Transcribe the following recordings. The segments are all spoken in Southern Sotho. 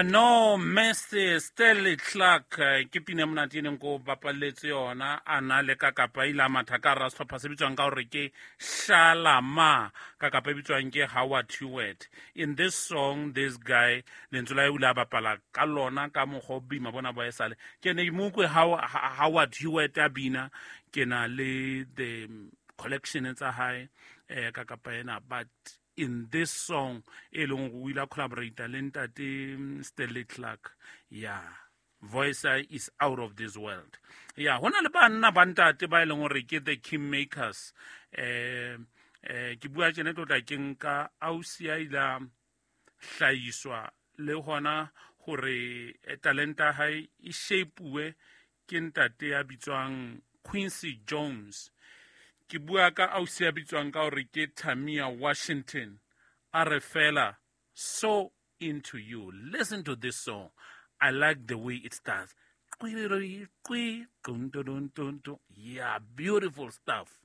No Mercy, Stanley Clark, ke pina e monate e neng ko bapalletse yona a na le ka kapa ile a matha ka hara sehlopha se bitswang ka hore ke Shalama, ka kapa e bitswang ke Howard Hewett. In this song, this guy lentswe la hae o ile a bapala ka lona ka mokgwa o boima bona bo esale. Ke ne ke mo utlwe Howard Hewett a bina, ke na le the collection tsa hae, ka kapa ena, but in this song e leng gore o ile a collaborate le ntate Stanley Clark, yeah, voice is out of this world. Yeah, ho na le banna ba ntate ba e leng gore ke the king makers. Ke bua tjena tlotla ke nka ausi a ile a hlahiswa le hona hore talenta ya hae e shape-uwe ke ntate ya bitswang Quincy Jones. Ke bua ka ausi ya bitswang ka hore ke Tamia Washington. A re fela, so into you. Listen to this song. I like the way it starts. Yeah, beautiful stuff.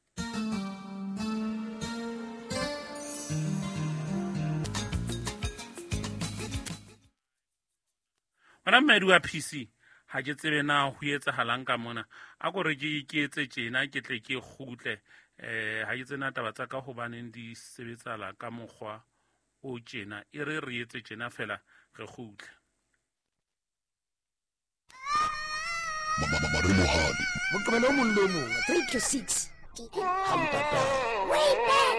Wena mmedi wa PC, ha ke tsebe na ho etsahalang ka mona. A ko re ke etse tjena, ke tle ke kgutle. Ha ke tsena taba tsa ka hobaneng di sebetsala ka mokgwa o tjena. E re re etse tjena fela re kgutle. Maremohadi. Moqebelo o mong le o mong, 3 to 6. Hampata. Way back.